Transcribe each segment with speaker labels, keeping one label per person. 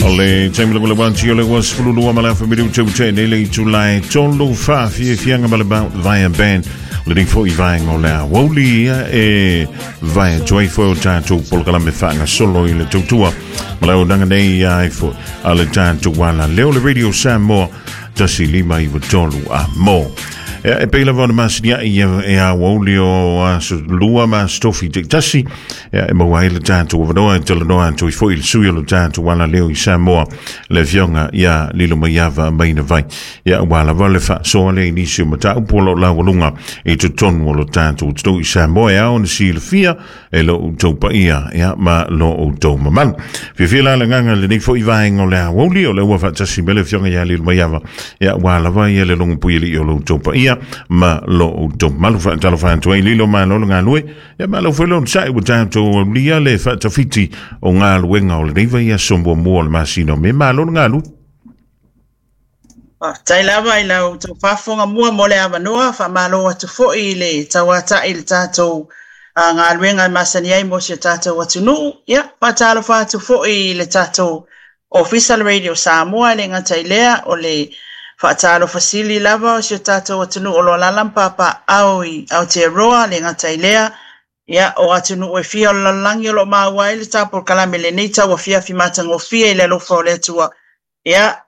Speaker 1: O le taimi lava le wati o le ua 12 ma le afa minuta ua tea nei le itula e tolu faafiafiaga ma le Mount Vaea Band. O lenei foi vaega o le aoauli ia e vae atu ai foi o tatou polokalame faagasolo i le tautua ma le auaunaga nei ai foi a le tatou ala leo le Radio Samoa 1593 a mo. E pei lava ona masiniai e aoauli o aso lua ma aso tofi taitasi e maua ai le tatou avanoa e talanoa atu ai foi i le sui o le tatou ala leo i Samoa, le afioga ia Lilomaiava Maina Vai. Ia aua lava le faasoa lea i nisi o mataupu o lo o laualuga i totonu o lo tatou atunuu i Samoa e ao ona silafia e lo outou paia ia, ma lo outou mamalu. Fiafia la le agaga i lenei foi vaega o le aoauli, o lea ua faatasi mai le afioga ia Lilomaiava, ia aua lava ia le logopuialii o lo outou paia ma lo outou mamalu. Faatalofa atu ai Lilo, malo le galue, ia malo foi le onosai ua tatou aulia le faatafiti o galuega o lenei vaiaso muamua o le masina o Me, malo le galue.
Speaker 2: Faafetai lava i lau outou faafofoga mua mo le avanoa, faamalo atu foi i le tauata'i i le tatou galuega e masani ai mo si o tatou atunuu. Ia, faatalofa atu foi i le tatou Ofisa o le Radio Samoa, e le gata i lea, o le faatalofa sili lava o si o tatou atunuu o lo o alaala ma papaaao i Aotearoa, e le gata i lea, ia, o atunuu e fia o le lalolagi o lo o maua ai le ta polokalame i lenei tauafiafi matagofie i le alofa o le Atua. Ia,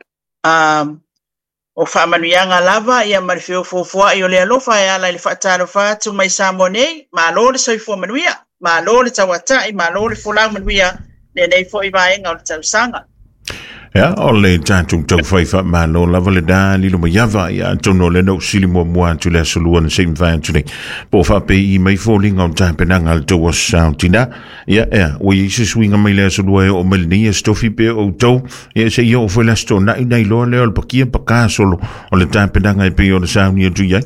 Speaker 2: o faamanuiaga lava ia ma le feofoofoai o le alofa e ala i le faatalofa atu mai Samoa nei, malo le soifua manuia, malo le tauatai, malo le folau manuia lenei foi vaega o le tausaga.
Speaker 1: Ia, o le tatou taufai faamalo lava lena Lilomaiava, ia atonu o lea na ou sili muamua atu i le aso lua na se i mavae atu nei, po o faapei mai foliga o tapenaga a le tou aso Sa o Tina. Ia, ea, ua i ai se suiga mai le aso lua e oo mai lenei aso tofi pe o outou, ia se i oo foi le aso Toonai ona iloa lea o le pakia paka solo o le tapenaga e pei ona sauni atu i ai.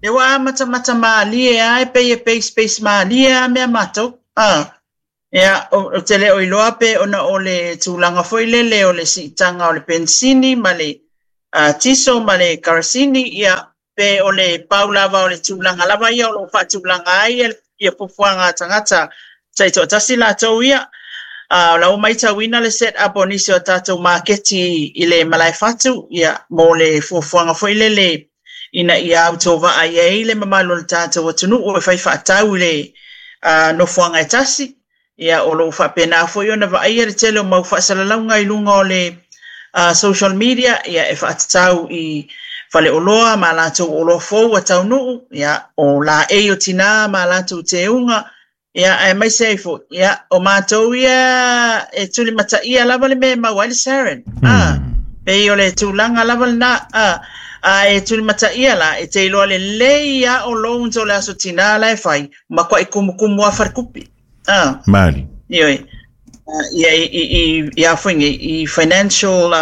Speaker 2: E ua amatamata malie lava e pei e peispeis malie lava mea matou. Ah, ia, ou te le o iloa pe ona o le tulaga foi lele o le siitaga o le penisini ma le tiso ma le karasini, ia, pe o le pau lava o le tulaga lava ia o lo o faatulaga ai ia fuafuaga a tagata taitoatasi latou ia. O la ua matauina le set up o nisi o tatou maketi i le malaefatu ia, mo le fuafuaga foi lele ina ia autovaa i ai le mamalu o le tatou atunuu e fai faatau i le nofoaga e tasi. Ia, o lo o faapena foi ona vaaia le tele o mau faasalalauga i luga o le social media, ia, e faatatau i faleoloa ma latou oloa fou a taunuu, ia, o laei o tinā ma latou teuga, ia, aemaise ai foi, ia, o matou ia e tulimataia lava le mea e maua ai le sarin. Pei o le tulaga lava lena, a e tulimataia la, e te iloa lelei lava o loans o le Aso Tinā la e fai, matuai kumukumu lava falekupe. Ah.
Speaker 1: Mali.
Speaker 2: Ioe. Ia i i i i a foi nei i financial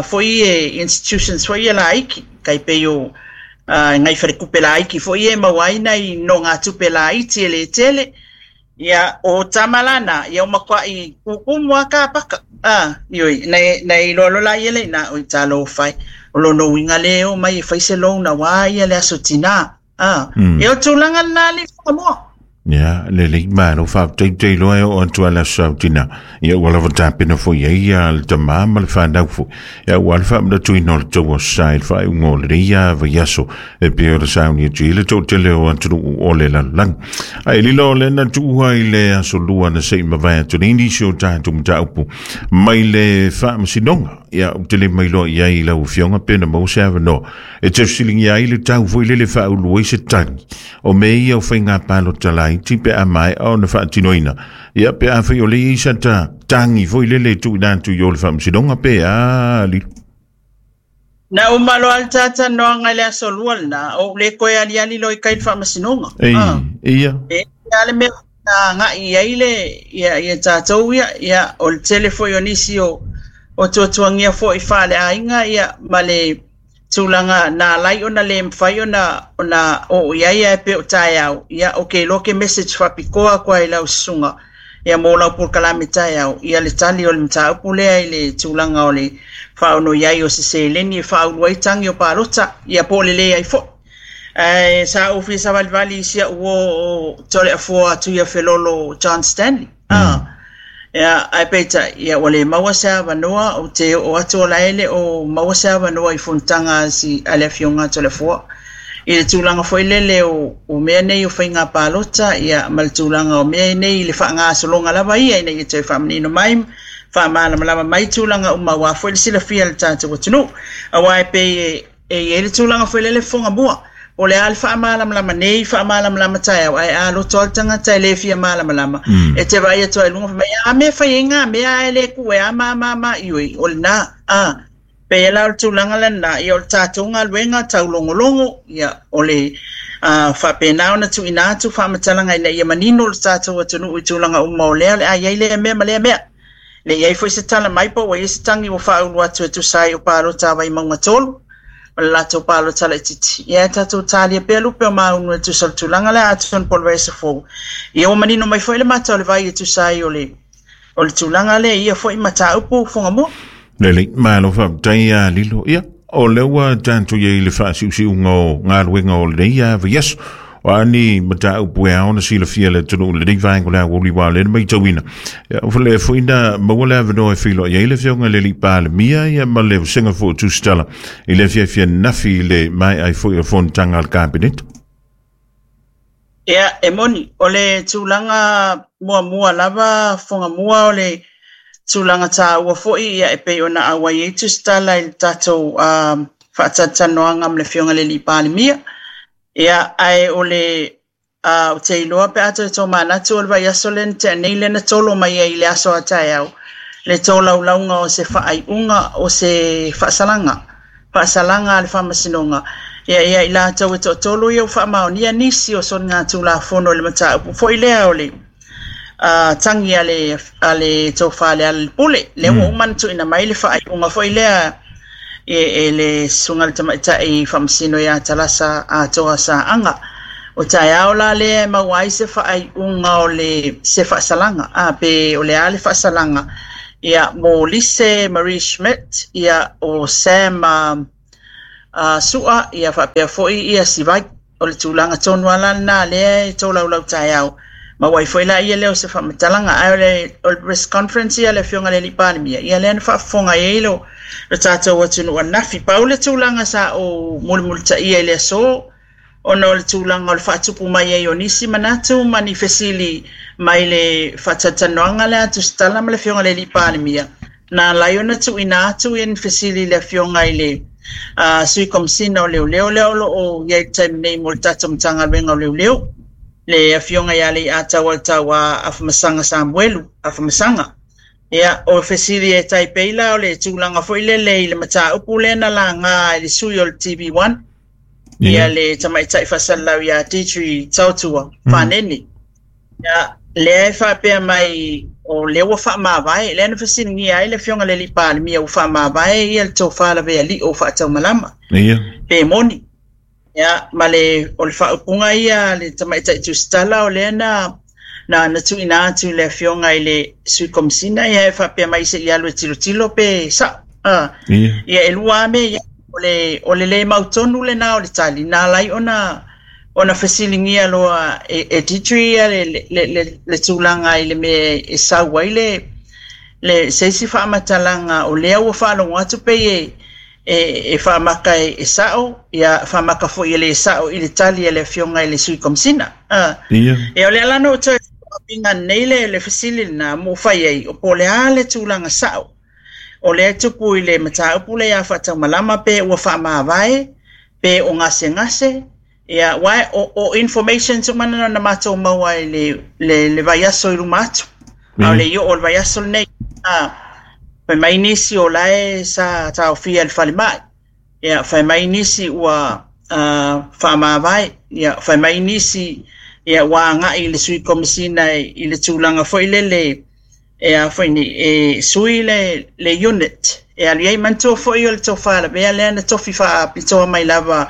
Speaker 2: foi e institutions foi e laiti tai pei o nai falekupe laiti foi e maua ai nai nogatupe laiti e le tele. Ia o tama lana ia o matuai kukumu lava ka paka. Ah, ioe, nai nai iloa loa laia le ina oi talofa e. O lona uiga lea e oo mai e fai se loan aua ia le Aso Tinā. Ah, e o tulaga lena le whakamoa.
Speaker 1: Ia, lelei malo faafetai te iloa e oo atu a le aso Sa o Tina. Ia ua lava tapena foi ai ia le tamā ma le fanau foi. Ia aua le faamanatuina o le tou aso sa i le faaiuga o lenei ia vaiaso e pei ona sauni atu ai le toatele o atunuu o le lalolagi. Ae lilo o lea na tuua i le aso lua na se i mavae atu nei nisi o tatou mataupu mai le faamasinoga. Ia, ou te le mailoa i ai i lau afioga pe na maua se avanoa e te fesiligia ai le tau foi lele faaulu ai se tagi o mea ia o faiga palota laiti pe a maea ona faatinoina. Ia, pe afai o lea e i ai sata tagi foi lele e tuuina atu i o le faamasinoga pe a Lilo.
Speaker 2: Na uma loa le talatalanoaga i le aso lua lena, ou le toe aliali loa i tai i le faamasinoga.
Speaker 1: Ei, ia.
Speaker 2: E a le mea na agai i ai le ia, ia tatou ia, ia, o le tele foi o nisi o, o tuatuagia foi faaleaiga ia, ma le tulaga na ala ai ona le mafai ona, ona oo i ai ae pei o taeao, ia, ou te iloa ke message faapitoa atu lava i lau susuga, ia, mo lau polokalame taeao, ia le tali o le mataupu lea i le tulaga o le faaono i ai o se seleni e faaulu ai tagi o palota, ia, po o le leai foi. Ae sa ou fia savalivali i si au uo o Toleafoa Tuiafelolo John Stanley. Ia, ae peitai, ia, ua le maua se avanoa, ou te oo atu o la e le o maua se avanoa i fonotaga a si, a le Afioga a Toleafoa. I le tulaga foi lele o, o mea nei o faiga palota, ia, ma le tulaga o mea nei i le faagasologa lava ia ina ia toe faamanino mai, faamalamalama mai tulaga uma aua foi le silafia e le tatou atunuu. Aua e pei e, E i ai le tulaga foi lele fofoga mua, o le a le faamalamalama nei, faamalamalama taeao, ae a loto lava le tagata e le fia malamalama, e te vaai atu lava i luga fai mai, a mea fai ai ngā mea ae le ku e a ma ma ma, ioe, o lena, a. Pei la o le tulaga lena, ia o le tatou galuega taulogologo, ia o le faapena ona tuuina atu faamatalaga ina ia manino le tatou atunuu i tulaga uma o lea o le a i ai lea mea ma lea mea. Le i ai foi se tala mai po ua i ai se tagi ua faaulu atu e tusa ai o palota a Vaimauga 3 ma le latou palota laitiiti. Ia e tatou talia pea lupe o maunu e tusa o le tulaga lea atonu po o le vaiaso fou. Ia ua manino mai foi le mata o le vai e tusa ai o le o le tulaga lea i ia foi mataupu Fugamua.
Speaker 1: Lelei, malo faafetai ia Lilo. Ia, o lea ua tatou i ai i le faasiusiuga o galuega o lenei vaiaso. O a ni mataupu e ao ona silafia e le atunuu i lenei vaega o le aoauli aua o lea na matauina. Ia, ua lea foi na maua le avanoa e feiloai ai le Afioga i le Alii Palemia ia ma le vasega foi o Tusitala i le afiafi ananafi i le maea ai foi o le fonotaga a le Kapeneta.
Speaker 2: Ia, e moni, o le tulaga muamua lava Fugamua o le tulaga taua foi ia e pei ona auai ai Tusitala i le tatou faatalatalanoaga ma le Afioga i le Alii Palemia. Ia, ae o le ou te iloa pe a toe tomanatu o le vaiaso lea na tea nei lea na tolo mai ai i le aso a taeao le tolaulauga o se faaiuga o se faasalaga, faasalaga a le Faamasinoga ia ia i latou e toatolu ia ua faamaonia nisi o soligatulafono i le mataupu foi lea o le tagi a le, a le Tofa Lealailepule. Lea ua uma ona tuuina mai le faaiuga foi lea e, e le Susuga i le Tamaitai Faamasino ia Talasa Atoa Saaga. O taeao la lea e maua ai se faaiuga o le se faasalaga, a pe o le a le faasalaga ia mo Lise Marie Schmidt, ia o Sam Sua, ia faapea foi ia Sivai. O le tulaga tonu lava la lena lea e tolaulau taeao, maua ai foi la ia lea o se faamatalaga. Ae o le, o le press conference ia a le Afioga i le Alii Palemia, ia lea na faafofoga i ai lo, lo tatou atunuu ananafi. Pau le tulaga sa ou mulimulitaia i le aso, ona o le tulaga o le faatupu mai ai o nisi manatu ma ni fesili mai le faatalatalanoaga lea a Tusitala ma le Afioga i le Alii Palemia, na ala ai ona tuuina atu ia ni fesili i le Afioga i le Sui Komesina o Leoleo lea o lo o i ai i le taimi nei mo le tatou Matagaluega o Leoleo, le Afioga ia Leiataualetaua Afamasaga Samuelu Afamasaga. Ia, o fesili e tai pei la o le tulaga foi lele i le mataupu lea na laga e le sui o le TV1, ia le tamaitai faasalalau ia Deidre Tautua Fanene. Ia, lea e faapea mai o lea ua faamavae, lea na fesiligia ai le Afioga i le Alii Palemia ua faamavae ia le Tofa Lavealii o Faataumalama. Pe moni. Ia, ma le, o le faaupuga ia a le tamaitai Tusitala o lea na na na tuuina atu i le Afioga i le Sui Komesina, ia e faapea mai se i alu e tilotilo pe sa'o. Ia, e lua lava mea ia. O le, o le le mautonu lena o le tali, na ala ai ona, ona fesiligia loa e, e Deidre ia le, le, le, le tulaga i le mea e sau ai le, le, se isi faamatalaga o lea ua faalogo atu pei e, e, e faamaka e, e sa'o, ia faamaka foi e le sa'o i le tali a le Afioga i le Sui Komesina. Ia, o lea la na ou toe faapiga nei le, le fesili lena ma ou fai ai, o po o le a le tulaga sa'o o lea e tupu i le mataupu lea ia Faataumalama pe ua faamavae, pe o gasegase, ia, aua o, o informations uma na na matou maua i le, le, le vaiaso i luma atu. A o le i oo o le vaiaso lenei. A, fai mai nisi o la e sa taofia i le falemai. Ia, fai mai nisi ua faamavae. Ia, fai mai nisi ia, ua agai i le Sui Komesina i le tulaga foi lele e a foi nei, e sui le, le unit e alu i ai. Manatua foi o le Tofa Lavea lea na tofi faapitoa mai lava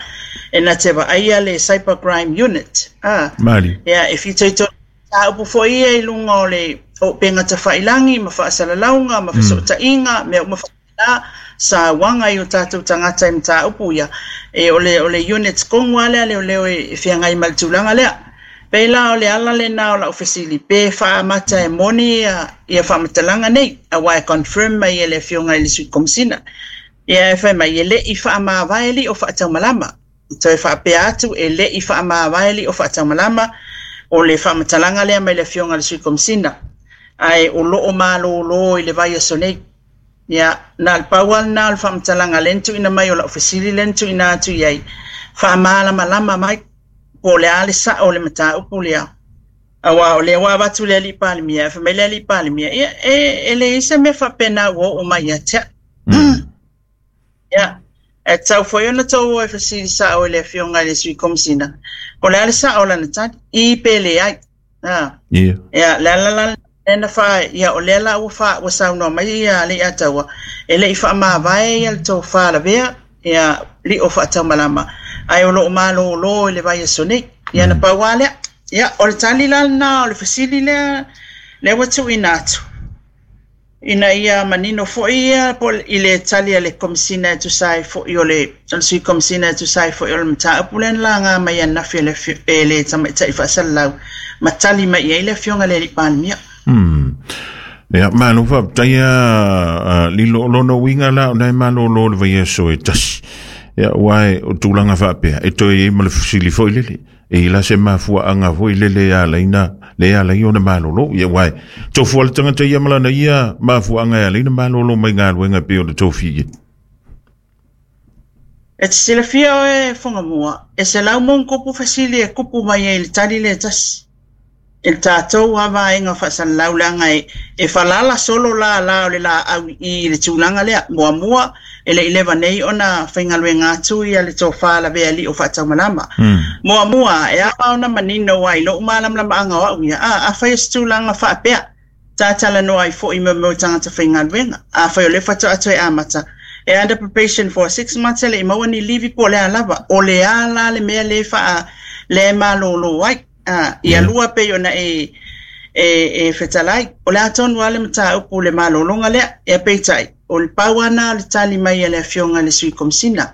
Speaker 2: e na te vaaia le Cyber Crime Unit. A,
Speaker 1: Mali.
Speaker 2: Ia, e fitoitonu mataupu foi ia i luga o le o upega tafailangi ma faasalalauga ma fesootaiga, mea uma faapena, sauaga i o tatou tagata i mataupu ia. E, o le, o le unit tonu lava lea a leoleo e, e feagai ma le tulaga lea. Pei la o le ala lena o lau fesili pe faaamata e moni ia faamatalaga nei, aua e confirm mai e le Afioga i le Sui Komesina. Ia e fai mai e le i faamavae lio faataumalama. Toe faapea atu e le i faamavae lio faataumalama o le faamatalaga lea mai le Afioga i le Sui Komesina. Ae o loo malōlō i le vaiaso nei. Ia, na o le pau lava lena o le faamatalaga lea na tuuina mai o lau fesili lea na tuuina atu i ai, faamalamalama mai po o le a le sao o le mataupu lea. Aua o lea ua avatu le alii Palemia, e fai mai le alii Palemia, ia e leai se mea faapena ua oo mai ia te au. Ia, e tatau foi ona tou o e fesili sao i le Afioga i le Sui Komesina, po o le a le sao o lana tali, i pe leai. Ia, le ala la lea na fa, ia o lea la ua fa, ua saunoa mai ia Leiataua, e le i faamavae ia le tofa lavea, ia lio faataumalama, ae o loo malōlō i le vaiaso nei. Ia na pau lava lea. Ia, o le tali la lena o le fesili lea, lea ua tuuina atu, ina ia manino foi ia po i le tali a le Komesina e tusa ai foi o le Sui Komesina e tusa ai foi o le mataupu lea na laga mai ananafi e le tamaitai faasalalau ma tali mai i ai le Afioga i le Alii Palemia.
Speaker 1: Ia, malo faafetai a Lilo o lona uiga la o na e malōlō le vaiaso e tasi. Ia, ua e o tulaga faapea, e toe i ai ma le fesili foi lele. E i la se mafuaaga foi lele e ala ai na, le e ala ai ona malōlō. Ia, ua e tofu le tagata ia ma lana ia mafuaaga e ala ai na malōlō mai galuega e pei ona tofi i ai.
Speaker 2: E te silafia oe Fugamua, e 100+ fesili e kupu mai ai i le tali lea e tasi. E le tatou lava vaega faasalalau leaga e falala solo la la o le laau i i le tulaga lea. Muamua, e le i leva nei ona faigaluega atu ia le tofa lavea lio faataumalama. Muamua, e ao ona manino ai lou malamalamaaga o au ia, afai o se tulaga faapea, ta talanoa ai foi mo mea o tagata faigaluega. Afai o lea faatoa toe amata, e under probation for 6 months e le i maua ni livi po o le a lava. O le a la le mea lea e malōlō ai. Ia lua pei ona e fetalai. O le a tonu lava le mataupu le malōlōga lea. Ia peitai, o le pau lava na o le tali mai a le Afioga i le Sui Komesina.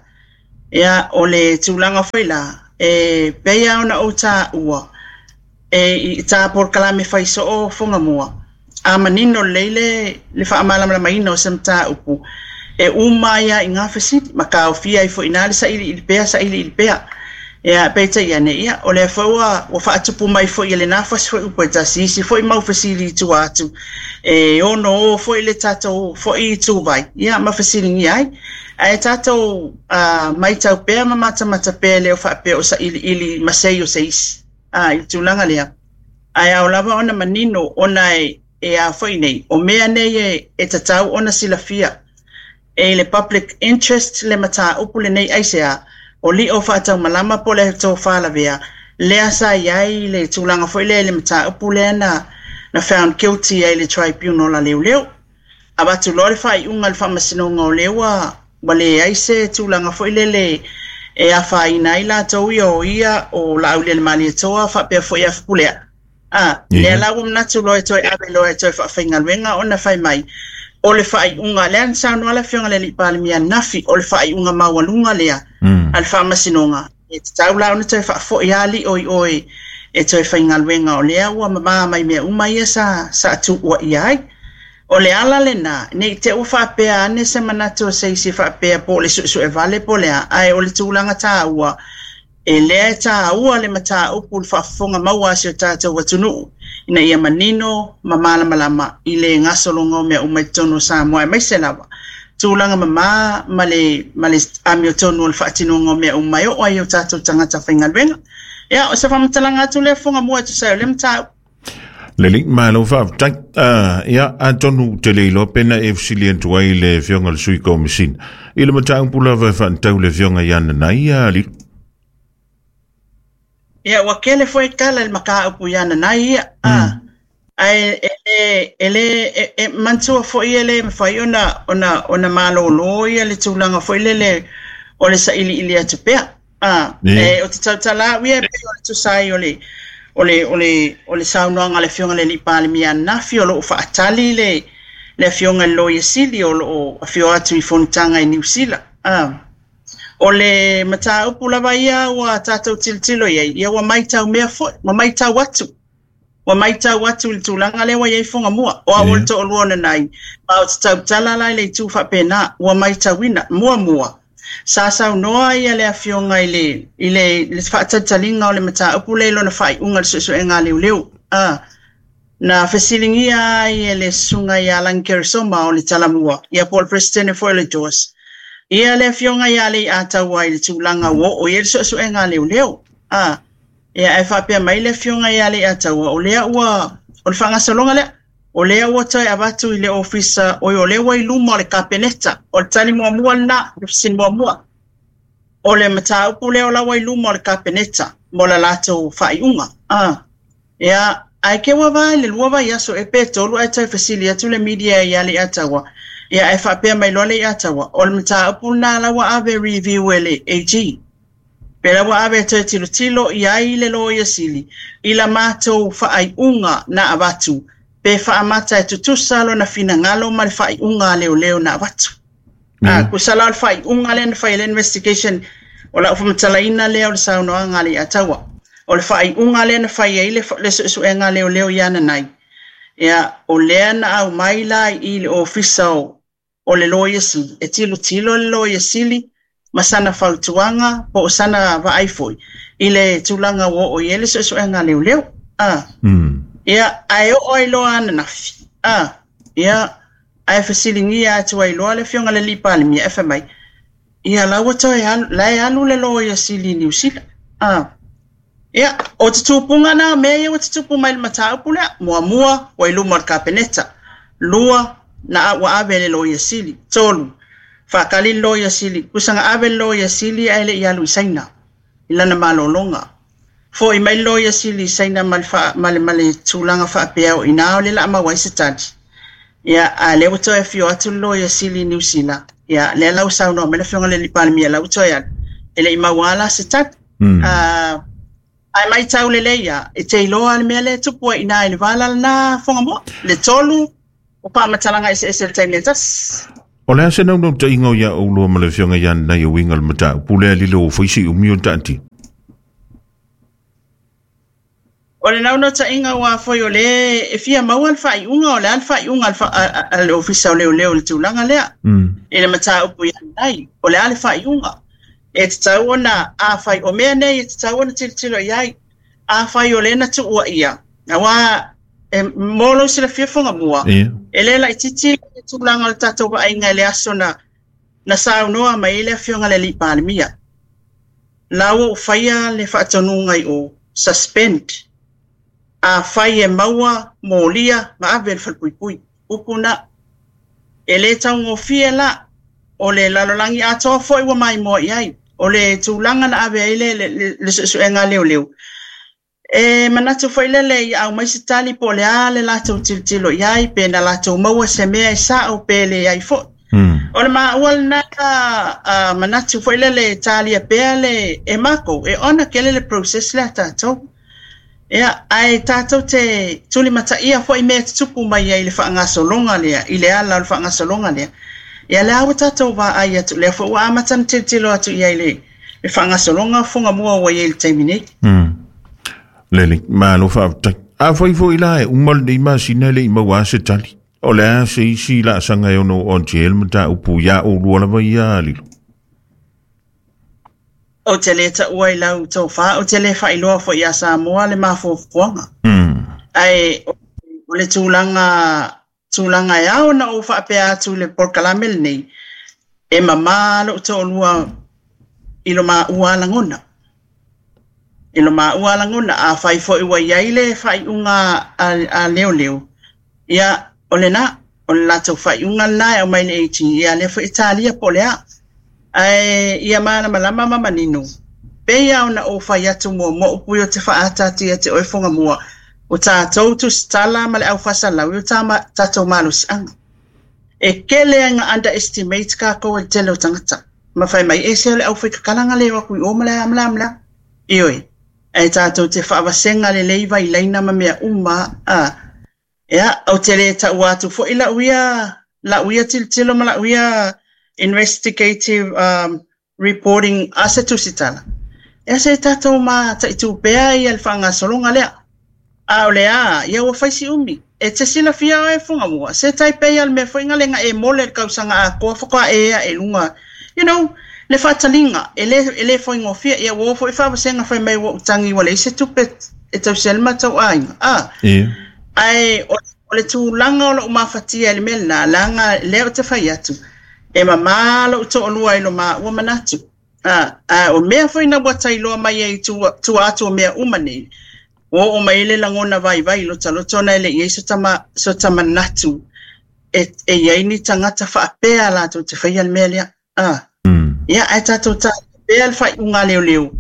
Speaker 2: Ia, o le tulaga foi la, e pei lava ona ou taua, e i tā polokalame fai soo Fugamua, a manino lelei le faamalamalamaina o se mataupu, e uma ai lava i ngā fesili, ma kaofia ai foi i nā le sailiili pea, sailiili pea. Ia, peitai ane, ia, o lea foi ua faatupu mai foi e lena fasi foi upu e tasi, isi foi mau fesili i tua atu, e ono o foi le tatou foi i tūvai, ia, ma fesiligia ai. Ae tatou maitau pea ma matamata pea le o faapea o sailiili ma sei o se isi, i le tulaga lea. Ae ao lava ona manino ona e a foi nei, o mea nei e tatau ona silafia. E le public interest le mataupu lenei aisea, o lio faataumalama po le tofa lavea, lea sa i ai le tulaga foi lea i le mataupu lea na found guilty ai le tribunal a leoleo. Avatu loa le faaiuga le faamasinoga o lea ua leai se tulaga foi lele e afaina ai latou ia o ia o Laaulialemalietoa faapea foi a Fepuleai. Lea la ua manatu loa e toe ave loa e toe faafaigaluega ona fai mai o le faaiuga lea na saunoa le Afioga i le Alii Palemia ananafi, o le faaiuga maualuga lea a le faamasinoga e tatau la ona toe faafoi lava lio i oe e toe faigaluega o lea ua mamā mai mea uma ia sa tuuaia ai. O le ala lena, nei te ua faapea ane se manatu o se isi faapea po o le suesue vale po o le a, ae o le tulaga tāua, e lea e tāua le mataupu le faafofoga maua a si o tatou atunuu, ina ia manino ma malamalama i le gasologa o mea uma i totonu o Samoa aemaise lava tulaga mamā ma le amiotonu o le faatinoga o mea uma e oo ai o tatou tagata faigaluega. Ia, o se faamatalaga atu lea Fugamua e tusa ai o lea mataupu.
Speaker 1: Lelei, malo faafetai. Ia, atonu te le iloa pena e fesili atu ai le Afioga i le Sui Komesina. I le mataupu lava e faatatau le Afioga ia Nanai ia Lilo.
Speaker 2: Ia, ua kele foi tala i le mataupu ia Nanai ia. Ae e le e manatua foi e le mafai ona malōlō ia le tulaga foi lele o le sailiili atu pea. E o te tautala au ia e pei o le tusa ai o le saunoaga a le Afioga i le Alii Palemia ananafi, o loo faatali le Afioga i le Loia Sili o loo afio atu i fonotaga i Niu Sila. O le mataupu lava ia ua tatou tilotilo i ai, ia ua matau mea foi, ua matau atu. Ua matau atu i le tulaga lea ua i ai Fugamua. O au o le toalua o Nanai, ma ou te tautala la i le itu faapena, ua matauina. Muamua, sa saunoa ia le afioga i le, i le, le faatalitaliga o le mataupu lea i lona faaiuga i le suesuega a leoleo. Na fesiligia ai e le susuga ia Lagi Keresoma o le Talamua, ia po o le Peresetene foi o le DOS, ia le afioga ia Leiataua i le tulaga ua oo i ai le suesuega a leoleo. A, ia ae faapea mai le afioga ia Leiataua, o lea ua, o le faagasologa lea, o lea ua toe avatu i le ofisa, oi o lea ua i luma o le Kapeneta. O le tali muamua lena, le fesili muamua. O le mataupu lea o la ua i luma o le Kapeneta mo le latou faaiuga. A, ia, ae ke ua va i le 2 vaiaso e pe 3 ae toe fesili atu le media ia Leiataua. Ia ae faapea mai loa Leiataua, o le mataupu lena la ua ave review e le AG. Pe la ua ave toe tilotilo i ai le Loia Sili i la matou faaiuga na avatu, pe faamata e tutusa lona finagalo ma le faaiuga a leoleo na avatu. A, tusa la o le faaiuga lea na fai e le investigation, o lau faamatalaina lea o le saunoaga a Leiataua. O le faaiuga lea na fai ai le suesuega a leoleo ia Nanai, ia, o lea na aumai la i le ofisa o le Loia Sili, e tilotilo le Loia Sili ma sana fautuaga po o sana vaai foi i le tulaga ua oo i ai le suesuega a leoleo. Ia, ae oo ai loa ananafi. Ia, ae fesiligia atu ai loa le afioga i le alii Palemia e fai mai, ia la ua toe alu, la e alu le Loia Sili i Niu Sila. Ia, o tutupuga na mea ia ua tutupu mai le mataupu lea. Muamua, ua i luma o le Kapeneta. 2, na ua ave le Loia Sili. 3, faatali le Loia Sili. Tusa na ave le Loia Sili ae le i alu i Saina, i lana malologa. Foi mai le Loia Sili i Saina ma le, ma le tulaga faapea o ina o le la maua ai se tali. Ia, a lea ua toe afio atu le Loia Sili i Niu Sila. Ia, lea la ua saunoa mai le afioga i le alii Palemia la ua toe alu. E le i maua la se tali. Ae matau lelei ia, e te iloa le mea lea e tupu ai ina i le vala lena Fugamua. Le 3, o faamatalaga eseese i le taimi e tasi.
Speaker 1: O le a se naunautaiga o ia oulua ma le afioga ia Nanai e uiga i le mataupu lea lilo o fai si umi o taatia?
Speaker 2: O le naunautaiga ua foi o le e fia maua le faaiuga, o le a le faaiuga a le ofisa o leoleo i le tulaga lea. I le mataupu ia Nanai, o le a le faaiuga. E tatau ona afai, o mea nei e tatau ona tilotilo i ai. Afai o lea na tuua ia, aua e mo lou silafia Fugamua, e le laitiiti le tulaga o le tatou vaaiga i le aso na saunoa mai ai le afioga i le alii Palemia. La ua ou faia le faatonuga i o, suspend. Afai e maua molia ma ave le falepuipui. Upu na. E le taugofie la, o le lalolagi atoa foi ua maimoa i ai. O le tulaga na ave ai le suesuega a leoleo. E manatu foi lele i au mai se tali po o le a le latou tilotilo i ai, pe na latou maua se mea e sao pe le ai foi. O le maua lena manatu foi lele e talia pea le e makou, e ona tele le process lea tatou. Ia, ae tatou te tulimataia foi mea e tutupu mai ai i le faagasologa lea, i le ala o le faagasologa lea. Ia lea ua tatou vaai atu, lea foi ua amata na tilotilo atu i ai le faagasologa o Fugamua ua i ai i le taimi nei.
Speaker 1: Lele, malo faafetai. Afai foi la e uma lenei masina e le i maua se tali. O le a se isi laasaga e ono oo atu i ai le mataupu ia oulua lava ia Lilo?
Speaker 2: Ou te le taua i lau tofa, ou te le faailoa foi ia Samoa le mafuafuaga. Ae o le tulaga e ao ona ou faapea atu i le polokalame lenei, e mamā lou toalua i lo maua lagona. I lo maua lagona, afai foi ua i ai le faaiuga a leoleo, ia, o lena, o le latou faaiuga lena e aumai le AG, ia lea foi e talia po o le a. Ae ia malamalama ma manino, pei ona ou fai atu muamua upu ia o te faaataata ia te oe Fugamua, o tatou tusitala ma le aufasalau i o tatou malosiaga. E tele ai na underestimate kākou e le tele o tagata. Ma fai mai, e se o le aufaikakalaga le o atu i o ma le a ma le a ma le a. Ioe, ae tatou te faavasega lelei vailaina ma mea uma. Ia, ou te le taua atu foi lau ia tilotilo ma lau ia investigative. reporting a se tusitala, ia se i tatou mataitu pea ia le faagasologa lea. A o le a, ia ua fai si umi. E te silafia oe Fugamua, se tai pei a le mea foi nga le nga e mole le kausaga atoa faatoa e ea e luga, you know, le faataliga, e le, e le faigofie. Ia ua oo foi faavasega fai mai ua ou tagi ua leai se tupe e tausi ai le matou aiga. A,
Speaker 1: Ia.
Speaker 2: ae o, o le tulaga o lou mafatia i le mea lena, leaga lea ou te fai atu, e mamā lou toalua i lo maua manatu. A, a o mea foi na ua tailoa mai ai tua, tua atu o mea uma nei, ua oo mai ai le lagona vaivai i lota loto ona e le i ai so ta, so ta manatu e, e i ai ni tagata faapea latou te faia le mea lea. A, ia, ae tatou talia pea le faaiuga a leoleo.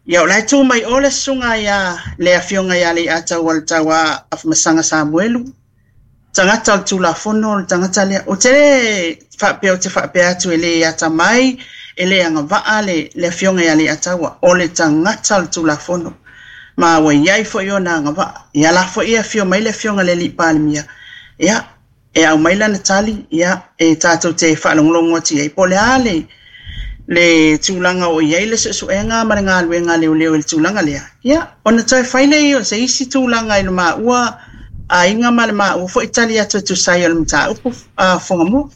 Speaker 2: Ia, o la e tu mai o le susuga ia le afioga ia Leiataualetaua Afamasaga Samuelu, tagata o le Tulafono, o le tagata lea. Ou te le faapea ou te faapea atu e le atamai, e le agavaa le, le afioga ia Leiataua, o le tagata o le Tulafono. Ma ua i ai foi ona agavaa. Ia la foi e afio mai le afioga i le alii Palemia, ia, e aumai lana tali, ia, e tatou te faalogologo atu i ai po o le a le, le tulaga o i ai le suesuega ma le galuega a leoleo i le tulaga lea, ia, ona toe fai lea o se isi tulaga i lo maua aiga ma le maua foi tali atu e tusa ai o le mataupu a Fugamua.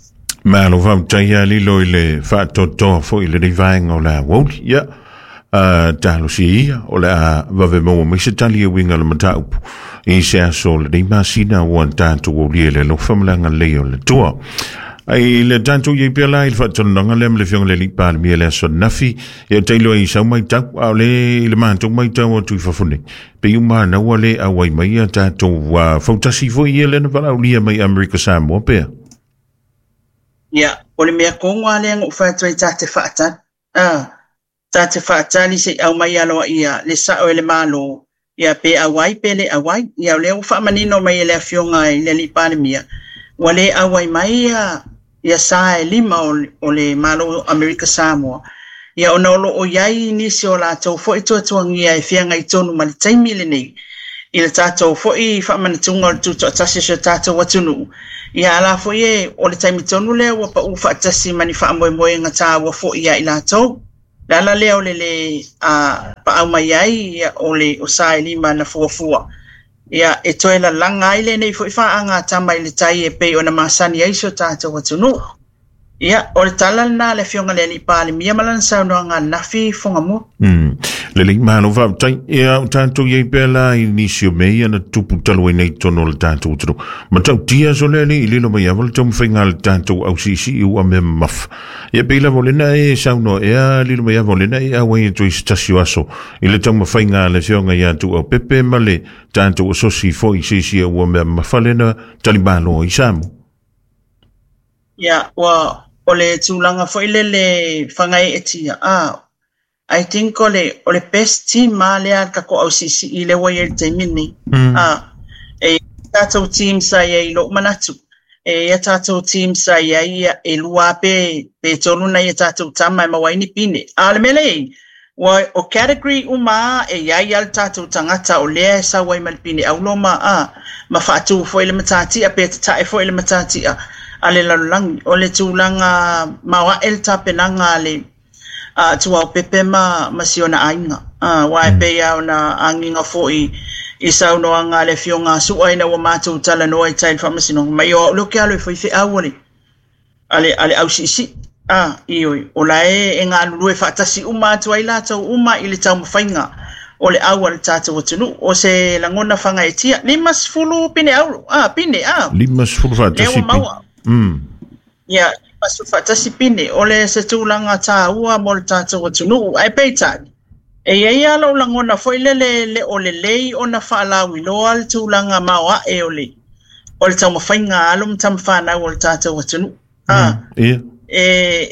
Speaker 1: Malo faafetai ia lilo i le faatoatoa foi i lenei vaega o le aoauli. Ia, talosia ia o le a vave maua mai se tali e uiga i le mataupu i se aso o lenei masina ua tatou aulia i le alofa ma le agalelei o le Atua. Ai le tatou iai pea la i le faatalanoaga lea ma le Afioga i le Alii Palemia i le aso ananafi, ia o tailo ai i sau maitau, a o le i le matou maitau atu i fafo nei, pei ua manaua le auai mai ia tatou fautasi foi ia lea na valaaulia mai Amerika Samoa pea.
Speaker 2: Ia, o le mea tonu lava lea na ou fai atu ai ta te faatali. A, ta te faatali se i aumai aloaia le sao e le Malo, ia pe auai pe le auai. Ia o lea ua faamanino mai e le Afioga i le Alii Palemia, ua le auai mai ia, ia sa e lima o, o le Malo o Amerika Samoa, ia ona o lo o i ai nisi o latou foi tuatuagia e feagai tonu ma le taimi lenei i le tatou foi faamanatuga o le tutoatasi o si o tatou atunuu. Ia a la foi e, o le taimi tonu lea ua pau faatasi ma ni faamoemoega taua foi ia i latou. Le ala lea o le lē paau mai ai ia, o le o sa e lima na fuafua. Ia, e toe lalaga ai lenei foi faagatama i le tai e pei ona masani ai si o tatou atunuu. Ia, o le tala lena a le Afioga i le Alii Palemia ma lana saunoaga ananafi Fugamua.
Speaker 1: Lelei, malo faafetai. Ia, o tatou i ai pea la i nisi o mea ia na tupu talu ai nei i totonu o le tatou atunuu. Matautia so le alii i lilo mai ava le taumafaiga a le tatou ausiisii ua mea mamafa. Ia pei lava o lena e saunoa ea lilo mai ava o lena e auai atu i se tasi o aso i le taumafaiga a le Afioga ia Tuuaupepe ma le tatou asosi foi i se isi ua mea mamafa lena talimalo i Samoa.
Speaker 2: Ia, ua, o le tulaga foi lele fagaeetia, a, I think o le, o le best team lava lea a le tatou ausiisii lea ua i ai i le taimi lenei. A, e i ai tatou team sa i ai i lou manatu, e i ai a tatou team sa i ai e lua lava pe, pe tolu nai a tatou tama e maua ai ni pine. A o le mea lea e i ai, ua, o category uma lava e i ai lava le tatou tagata o lea e sau ai ma le pine auro ma, a, ma faatu foi le matatia pe tatae foi le matatia a le lalolagi. O le tulaga maoae le tapenaga a le a Tuaopepe ma, ma si ona aiga. A, aua e pei lava ona agiga foi i saunoaga a le Afioga a Su'a ina ua matou talanoa i tai i le Faamasinoga, mai o au lea ou te alu e fai feau a le, a le, a le ausiisii. A, ioe, o la e, e galulue faatasi uma atu ai latou uma i le taumafaiga o le au a le tatou atunuu. O se lagona fagaetia, 50 pine auro, a, pine, a.
Speaker 1: 50
Speaker 2: Lea
Speaker 1: faatasi
Speaker 2: ua
Speaker 1: pine.
Speaker 2: maua. Ia, 51 pine, o le se tulaga tāua mo le tatou atunuu. Ae peitai, e i ai lava lou lagona foi lele e le o lelei ona faalauiloa le tulaga maoae o le o le taumafaiga a alo ma tamafanau o le tatou atunuu. A,
Speaker 1: Ia.
Speaker 2: e,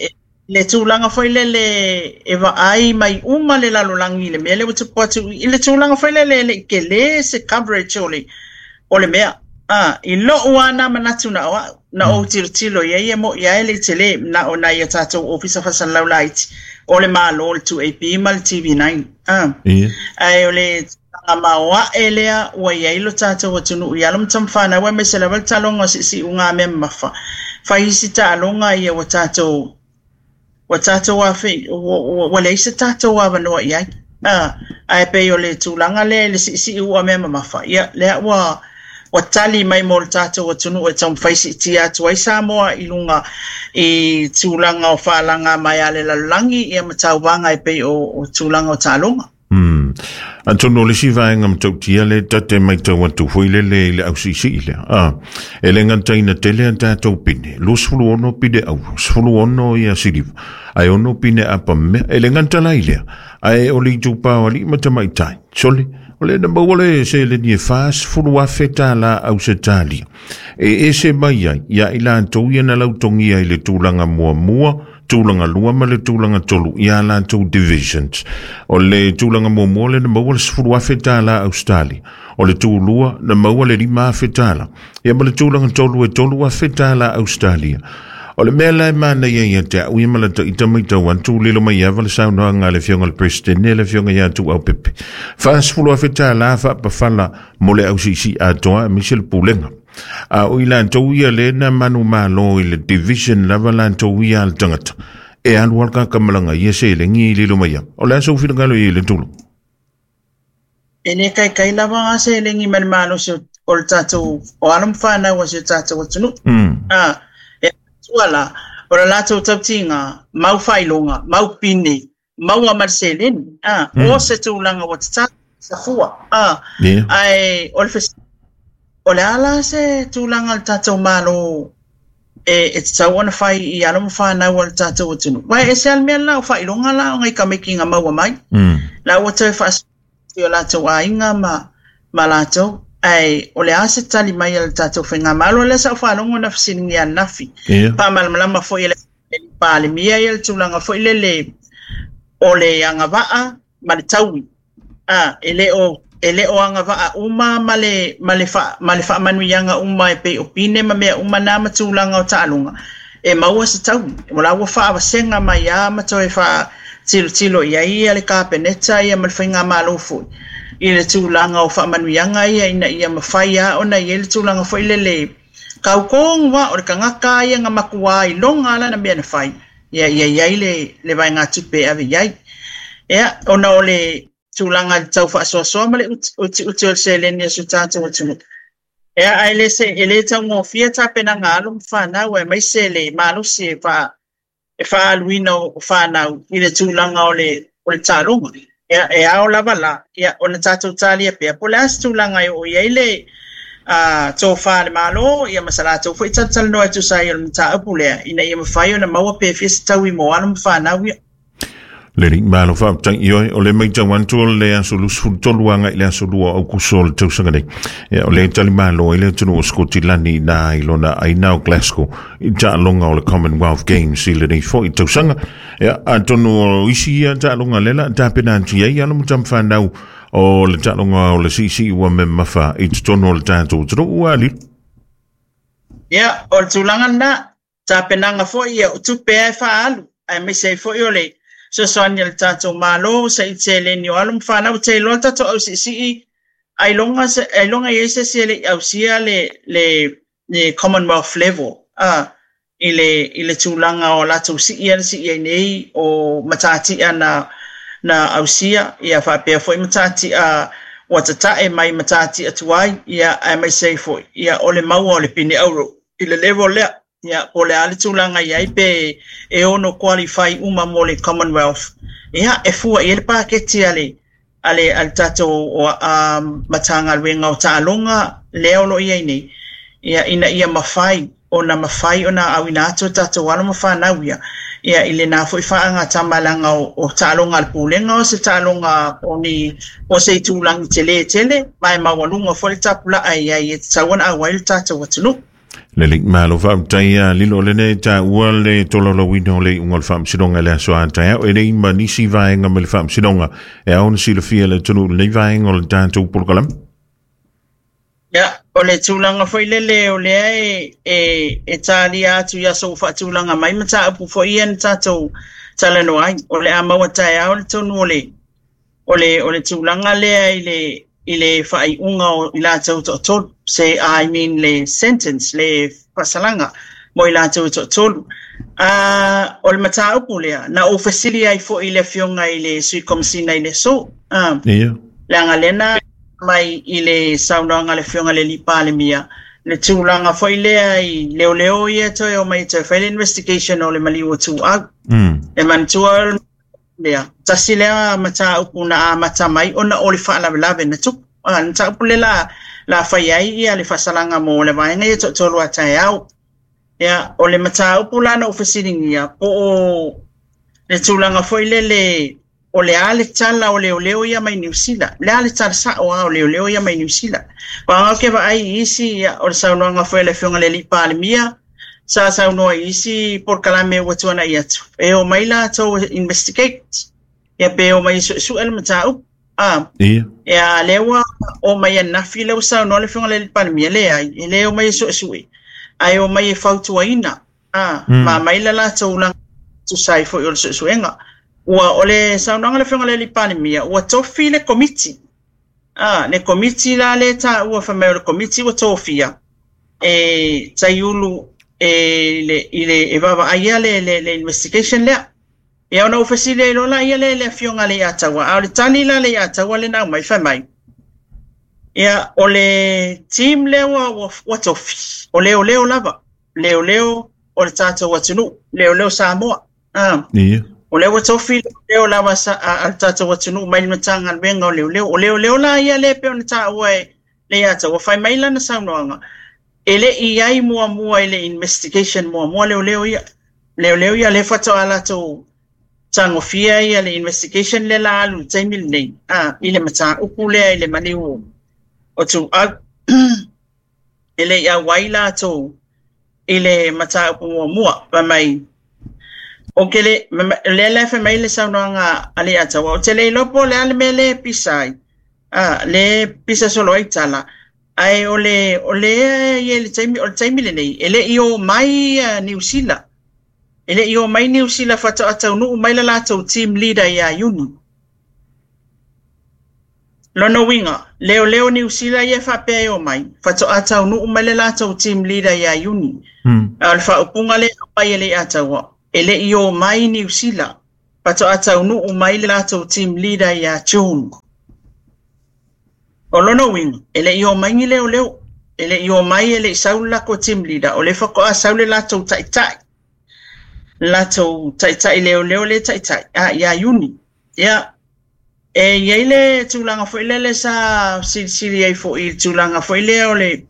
Speaker 2: e, le tulaga foi lele e vaai mai uma le lalolagi i le mea lea ua tupu atu i le tulaga foi lele e le i tele se coverage o le o le mea. A, i lou lava na manatu na o au, na ou tilotilo i ai e mo'i lava e le i tele na o nai a tatou ofisa faasalalau laiti o le Malo, le 2AP ma le TV9. A,
Speaker 1: Ia.
Speaker 2: ae o le tulaga maoae lea ua i ai lo tatou atunuu i alo ma tamafanau aemaise lava le taaloga o siusiuga mea mamafa. Fai isi taaloga ia ua tatou. Ua tatou afe, ua leai se tatou avanoa i ai. Ae pei o le tulaga lea i le siisii ua mea mamafa, ia, lea ua tali mai mo le tatou atunuu e taumafai siitia atu ai Samoa i luga i tulaga o faalaga mai a le lalolagi, ia ma tauvaga e pei o tulaga o taaloga.
Speaker 1: Atonu o le isi vaega matautia le ta te matau atu foi lele i le ausiisii lea. E le gata ina tele a tatou pine, 26 pine auro, 16 ia siliva, ae 6 pine apa mea. E le gata la i lea, ae o le itupa o alii ma tamaitai. Sole, o le na maua le seleni e $40,000 Ausetalia. E ese mai ai, ia i latou ia na lautogia i le tulaga muamua, tulaga lua ma le tulaga tolu ia latou divisions. O le tulaga muamua le na maua le $10,000 Australia. O le tūlua na maua le $5,000. Ia ma le tulaga tolu e $3,000 Australia. O le mea la e manaia ia te au ia ma la ita mai tau atu lilo mai ava le saunoaga a le afioga i le President le afioga ia Tuuaupepe. $40,000 faapafala mo le ausiisii atoa aemaise le pulega. A o i latou ia le na manu malo i le division lava latou ia a le tagata. E alu alu kakamalaga ia seleni i lilo mai ava. O le a sou finagalo i le tulu?
Speaker 2: E le kaikai lava nga seleni ma le malosi o le tatou o alo ma fanau a si o tatou atunuu. E tua la, o le latou tautiga, mau faailoga, mau pine, maua ma le seleni. O se tulaga ua tatau sa fua. Ae o le o le a la se tulaga o le tatou malo e tatau ona fai i alo ma fanau a le tatou atunuu. Uae ese a le mea la o faailoga la o ngai tamaiti na maua mai. La ua toe faasui o latou aiga ma latou. Ae o le a se tali mai a le tatou faigamalo lea sa ou faalogo na fesiligia ananafi. Faamalamalama foi e le Palemia ia le tulaga foi lele o le agavaa ma le taui. E le o agavaa uma ma le faamanuiaga uma e pei o pine ma mea uma na ma tulaga o taaloga e maua se taui. O la ua faavasenga mai a ma toe faatilotilo i ai ia le Kapeneta ia ma le faigamalo foi i le tulaga o faamanuiaga ia ina ia mafai a ona i ai le tulaga foi lele kaukonga o le tagata ia nga matua i longa ala na mea na fai ia ia iai le vaega tupe e ave iai. Ia ona o le tulaga i le tau faasoasoa ma le utiuti o le seleni a si o tatou atunuu. Ia ae le se e le taugofie tapenaga alo ma fanau aemaise le malosi e faaaluina o fanau i le tulaga o le taaloga. Ia e ao lava la ia ona tatou talia pea po o le a se tulaga e oo i ai le tofa le malo ia ma sa latou foi talatalanoa e tusa ai o le mataupu lea ina ia mafai ona maua pe fia se taui mo alo ma fanau ia.
Speaker 1: Le ri malo faafetai i oe o le matau atu o le aso 23 agai i le aso 2 o Aukuso o le tausaga nei. Ia, o le tali malo ai le atunuu o Skotilani na i lona aina o Glasgow i taaloga o le Commonwealth Games i lenei foi tausaga. Ia, atonu o isi ia taaloga lela tapena atu i ai alo ma tama fanau o le taaloga o le siisii ua memafa i totonu o le tatou atunuu ua ali.
Speaker 2: Ia, o le tulaga lena, tapenaga foi ia o tupe e faaalu, aemaise ai foi o le fesoasoani a le tatou malo sa i seleni o alo ma fanau te iloa le tatou ausiisii ailoga i ai se isi e le i ausia le Commonwealth level i le tulaga o latou sii ana sii ai nei o matatia na ausia ia faapea foi matatia ua tatae mai matatia tuai ia aemaise ai foi ia o le maua o le pine auro i le level lea. Ia, po o le a le tulaga i ai pe e ono qualify uma mo le Commonwealth. Ia, e fua i ai le paketi a le tatou Matagaluega o Taaloga lea o lo o i ai nei. Ia, ina ia mafai ona auina atu o tatou alo ma fanau ia. Ia, i lena foi faagatama o taaloga a le pulega o se taaloga o ni o se itulagi tele tele, ma e maualuga foi le tapulaa i ai e tatau ona auai le tatou atunuu.
Speaker 1: Le li malo faafetai a lilo lene taua le tolaulauina o le iuga o le faamasinoga i le aso a taeao e lei ma nisi vaega mai le faamasinoga e ao ona silafia le atunuu lenei vaega o le tatou polokalame.
Speaker 2: Ia, o le tulaga foi lele o lea e talia atu i aso ua faatulaga mai mataupu foi ia na tatou talanoa ai. O le a maua taeao le tonu o le tulaga lea i le faaiuga o i latou toatolu, se I mean le sentence, le faasalaga. Mo i latou e toatolu. O le mataupu lea, na ou fesili ai foi i le afioga i le Sui Komesina i le aso. Leaga lea na mai i le saunoaga a le afioga i le alii Palemia, le tulaga foi lea i leoleo ia toe omai e toe fai le investigation o le maliu o Tuuau. E manatua lea, tasi lea mataupu na amata mai ona o le faalavelave na tupu. Le mataupu lea la fai ai ia le faasalaga mo le vaega ia toatolu a taeao. Ia, o le mataupu la na ou fesiligia, po o le tulaga foi lele o le a le tala o leoleo ia mai Niu Sila. Le a le tala sao lava o leoleo ia mai Niu Sila. Aua ou te vaai i isi, ia, o le saunoaga foi a le afioga i le alii Palemia, sa saunoa i isi polokalame ua tuanai atu, e omai latou e investigate, ia pe omai e suesue le mataupu. Ia, lea ua omai ananafi lea ua saunoa le afioga i le alii Palemia, leai, e le omai e suesue, ae omai e fautuaina, ma aumai le latou lagona tusa ai foi o le suesuega. Ua o le saunoaga a le afioga i le alii Palemia, ua tofi le komiti. Le komiti la lea e taua fai mai o le komiti ua tofia e taiulu e i le e vaavaaia le investigation lea. Ia ona ou fesili ai loa laia lea i le afioga a Leiataua, a o le tali la a Leiataua lea na aumai fai mai, ia o le team lea ua tofi, o leoleo lava, leoleo o le tatou atunuu, leoleo Samoa. O lea ua tofi leoleo lava a le tatou atunuu mai le Matagaluega o Leoleo. O leoleo la ia lea e pei ona taua e Leiataua, fai mai lana saunoaga, e le i i ai muamua i le investigation muamua leoleo ia. Leoleo ia lea faatoa latou tagofia ia le investigation lea la alu i le taimi lenei, i le mataupu lea i le maliu o Tuuau. E le i auai latou i le mataupu muamua. Fai mai, o ke le, lea la e fai mai le saunoaga a Leiataua, ou te le iloa po o le a le mea lea e pisa ai, le pisa solo ai tala, ae o le o lea e i ai le taimi, o le taimi lenei, e le i omai Niu Sila. E le i omai Niu Sila faatoa taunuu mai le latou team leader ia Iuni. Lona uiga, leoleo Niu Sila ia e faapea e omai, faatoa taunuu mai le latou team leader ia Iuni. A o le faaupuga lea e aumai e Leiataua, e le i omai Niu Sila, faatoa taunuu mai le latou team leader ia June. O lona uiga, e le i omai ni leoleo, e le i omai e le i sau le latou team leader, o lea faatoa sau le latou taitai, le latou taitai leoleo lea taitai, ia Iuni. Ia, e i ai le tulaga foi lele sa silisili ai foi i le tulaga foi lea o le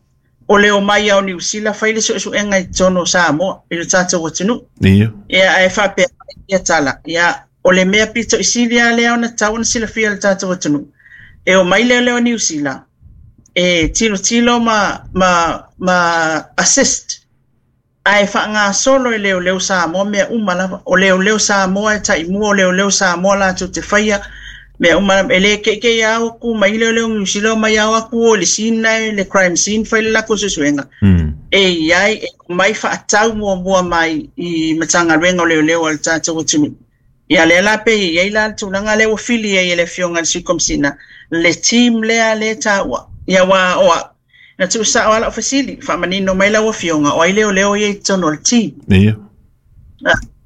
Speaker 2: o le omai o Niu Sila fai le suesuega i totonu o Samoa i le tatou atunuu. Ia, ae faapea mai ia tala, ia, o le mea pito i sili lava lea ona tatau ona silafia e le tatou atunuu, e omai leoleo Niu Sila e tilotilo ma assist, ae faagasolo e leoleo Samoa mea uma lava. O leoleo Samoa e taimua, o leoleo Samoa latou te faia mea uma lava. E le keikei ao atu mai leoleo Niu Sila omai ao atu o i le scene lena, le crime scene, fai le latou suesuega. E i ai, e omai faatau muamua mai i Matagaluega o Leoleo a le tatou atunuu. Ia lea la pe i ai la le tulaga lea ua fili ai e le afioga i le Sui Komesina le team lea lea e taua. Ia aua o au, na tuusao lava lau fesili, faamanino mai lau afioga, o ai leoleo ia i totonu o le team?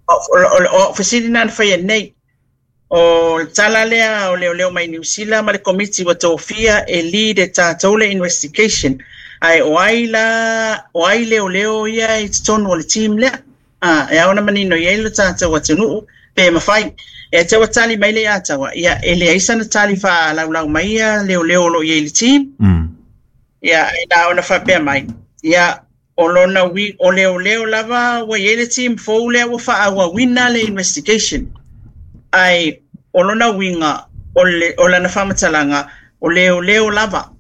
Speaker 2: O au fesili na na faia nei. O le tala lea o leoleo mai Niu Sila ma le komiti ua tofia e lead e tatou le investigation. Ae o ai la, o ai leoleo ia i totonu o le team lea? E ao ona manino i ai lo tatou atunuu pe mafai. E te ua tali mai Leiataua, ia e leai sana tali faalaulau mai ia leoleo o lo o i ai i le team. Ia, e na ona faapea mai, ia, o lona ui, o leoleo lava ua i ai le team fou lea ua faaauauina le investigation. Ae o lona uiga, o le, o lana faamatalaga, o leoleo lava.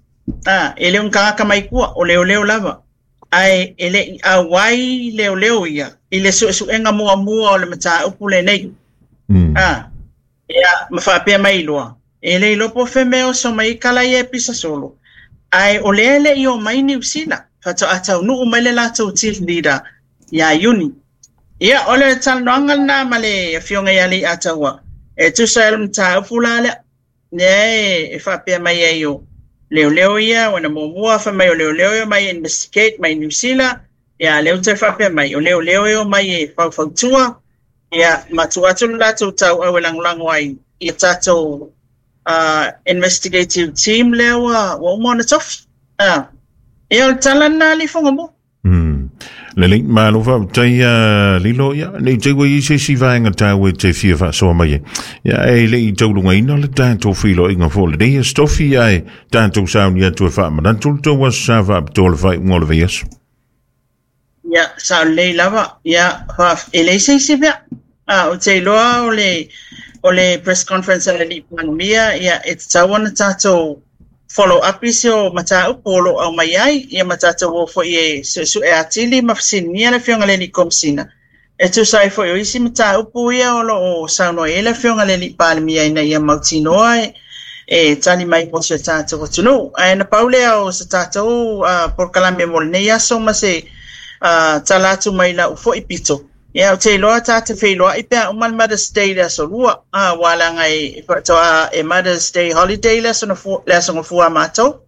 Speaker 2: E le o ni tagata mai tua, o leoleo lava. Ae e le i auai leoleo ia i le suesuega muamua o le mataupu lenei. Ia, ma faapea mai loa, e le iloa po o fea mea oso mai ai tala ia e pisa solo. Ae o lea e le i omai Niu Sila, faatoa taunuu mai le latou team leader ia Iuni. Ia, o le talanoaga lena ma le afioga ia Leiataua, e tusa ai o le mataupu la lea. Lea e faapea mai ai o leoleo ia, ua na muamua fai mai o leoleo ia mai investigate mai Niu Sila, Ia, lea ua toe faapea mai, o leoleo e omai e faufautua, ia, ma tuu atu le latou tauau e lagolago ai i tatou investigative team lea ua uma ona tofi. Ia, o le tala lena a alii Fugamua.
Speaker 1: Lelei, malo faafetai a Lilo, ia, nei te ua i ai se isi vaega taua e te fia faasoa mai ai. Ia, e le i taulugaina le tatou feiloaiga foi o lenei aso tofi, ae tatou sauni atu e faamanatu le tou aso sa faapitoa le faaiuga o le vaiaso.
Speaker 2: Ia, sao lelei lava. Ia, e leai se isi mea. Ou te iloa o le, o le press conference a le alii Palemia, ia, e tatau ona tatou follow up isi o mataupu o lo o aumai ai, ia ma tatou o foi e suesue atili ma fesiligia le Afioga i le Alii Komesina, e tusa ai foi o isi mataupu ia o lo o saunoa i ai le Afioga i le Alii Palemia ina ia mautinoa e tali mai mo si o tatou atunuu. Ae na pau lea o se tatou polokalame mo lenei aso ma se tala atu mai lau foi pito. Ia, ou te iloa ta te feiloai pe a uma le Mother's Day i le aso Lua, aua leaga e faatoa e Mother's Day holiday le aso le aso Gafua a matou.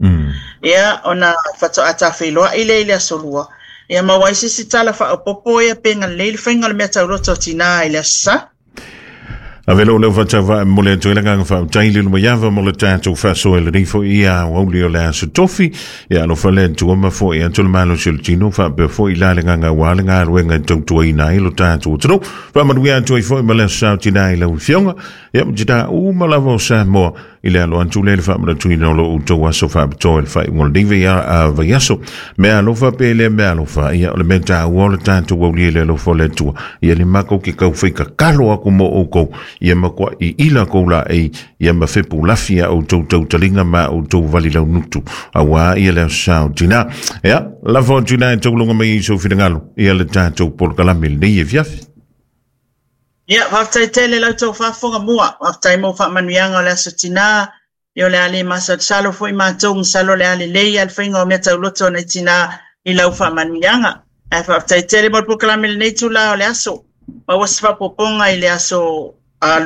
Speaker 2: Ia, ona faatoa ta feiloai lea i le aso Lua. Ia maua ai se isi tala faaopoopo ia pe galelei le faiga o le meatauloto a tinā i le Aso Sa.
Speaker 1: Ave lou leo faatauvaa e momoli atu ai le agaga faafetai i le Lumaiava mo le tatou faasoa i lenei foi ia aoauli o le aso tofi. Ia alofa le Atua ma foi atu le malosi o le tino faapea foi la le agaga aua le galuega e tautuaina ai lo tatou atunuu. Faamanuia atu ai foi ma le aso sa o tinā i lau Afioga. Ia ma tinā uma lava o Samoa i le alo atu lea i le faamanatuina o lo outou aso faapitoa i le faaiuga o lenei vaiaso. Mea alofa pe le mea alofa, ia o le mea taua o le tatou aulia i le alofa o le Atua. Ia le matou ke kau whai kakalo aku mo outou, ia matua i ila kou laei, ia ma fepu lafi a outou tautalinga ma outou vali launutu. Auā ia le aso sa o tinā. Ia, lafo atu i na e taulunga mai i sou finagalo, ia le tatou polokalame lenei afiafi.
Speaker 2: Ia, faafetai tele la outou faafofoga mua. Faafetai mo faamanuiaga o le Aso Tinā. Ia o le a le masalosalo foi matou, masalo o le a lelei lava le faiga o mea tauloto a nai tinā i lau faamanuiaga. Ae faafetai tele mo le polokalame i lenei itula o le aso. Maua se faaopoopoga i le aso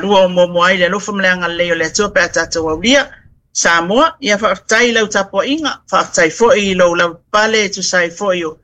Speaker 2: lua o muamua ai le alofa ma le agalelei o le Atua pe a tatou aulia. Samoa, ia faafetai i lau tapuaiga, faafetai foi i lou lavapapale e tusa ai foi o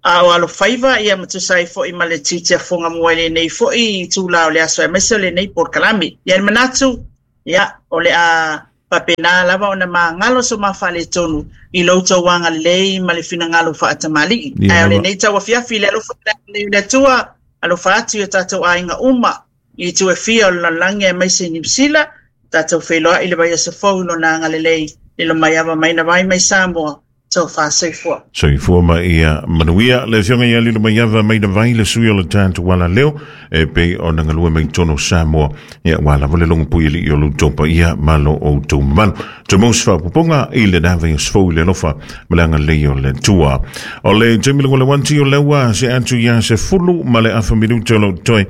Speaker 2: A o alofaiva ia ma tusa ai foi ma le tiute fofoga mua i lenei foi itula o le aso aemaise o lenei polokalame. Ia le manatu, ia, o le a faapena lava ona magalo so ma faaletonu i lo outou agalelei ma le finagalo faatamalii. Ae o lenei tauafiafi i le alofa ma le agalelei o le Atua, alofa atu i o tatou aiga uma i itu e fia o le lalolagi aemaise i Niu Sila, tatou feiloai i le vaiaso fou i lona agalelei, lilo mai ava mai na vai mai Samoa, Tofa soifua.
Speaker 1: Soifua ma ia manuia. Le afioga ia Lilo Maiava mai na vai le sui o le tatou ala leo e pei ona galue mai totonu o Samoa. Ia ua lava le logo pui alii o lo outou paia ma lo outou mamalu. Tumau se faaopoopoga i lena vaiaso fou i le alofa ma le agalelei o le Atua. O le taimi le wanti o lea ua se atu ia 10:30 minute o lo toe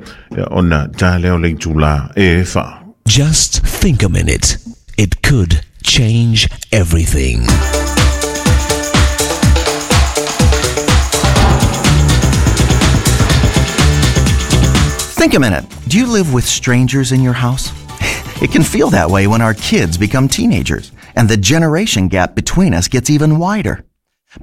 Speaker 1: ona ta lea o le itula e 4.
Speaker 3: Just think a minute. It could change everything.
Speaker 4: Think a minute. Do you live with strangers in your house? It can feel that way when our kids become teenagers and the generation gap between us gets even wider.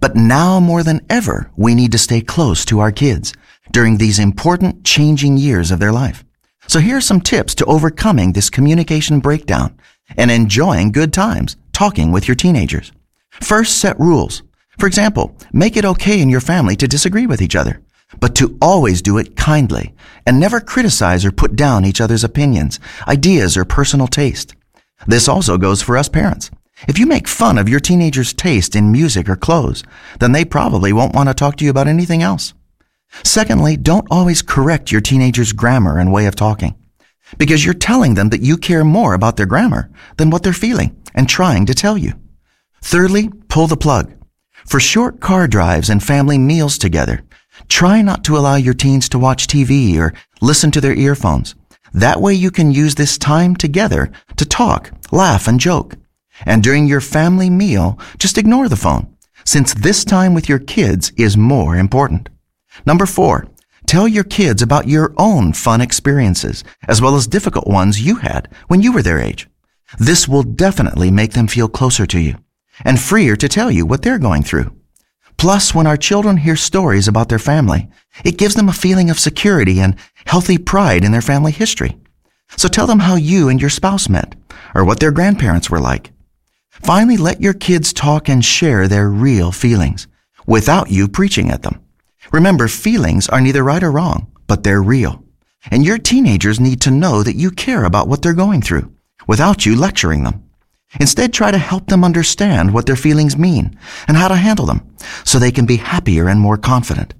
Speaker 4: But now more than ever, we need to stay close to our kids during these important changing years of their life. So here are some tips to overcoming this communication breakdown and enjoying good times talking with your teenagers. First, set rules. For example, make it okay in your family to disagree with each other, but to always do it kindly and never criticize or put down each other's opinions, ideas, or personal taste. This also goes for us parents. If you make fun of your teenager's taste in music or clothes, then they probably won't want to talk to you about anything else. Secondly, don't always correct your teenager's grammar and way of talking, because you're telling them that you care more about their grammar than what they're feeling and trying to tell you. Thirdly, pull the plug. For short car drives and family meals together, try not to allow your teens to watch TV or listen to their earphones. That way you can use this time together to talk, laugh, and joke. And during your family meal, just ignore the phone, since this time with your kids is more important. Number 4, tell your kids about your own fun experiences, as well as difficult ones you had when you were their age. This will definitely make them feel closer to you and freer to tell you what they're going through. Plus, when our children hear stories about their family, it gives them a feeling of security and healthy pride in their family history. So tell them how you and your spouse met, or what their grandparents were like. Finally, let your kids talk and share their real feelings without you preaching at them. Remember, feelings are neither right or wrong, but they're real. And your teenagers need to know that you care about what they're going through without you lecturing them. Instead, try to help them understand what their feelings mean and how to handle them so they can be happier and more confident.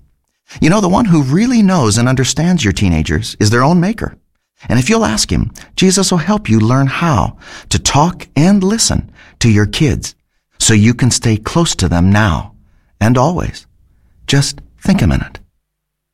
Speaker 4: You know, the one who really knows and understands your teenagers is their own maker. And if you'll ask him, Jesus will help you learn how to talk and listen to your kids so you can stay close to them now and always. Just think a minute.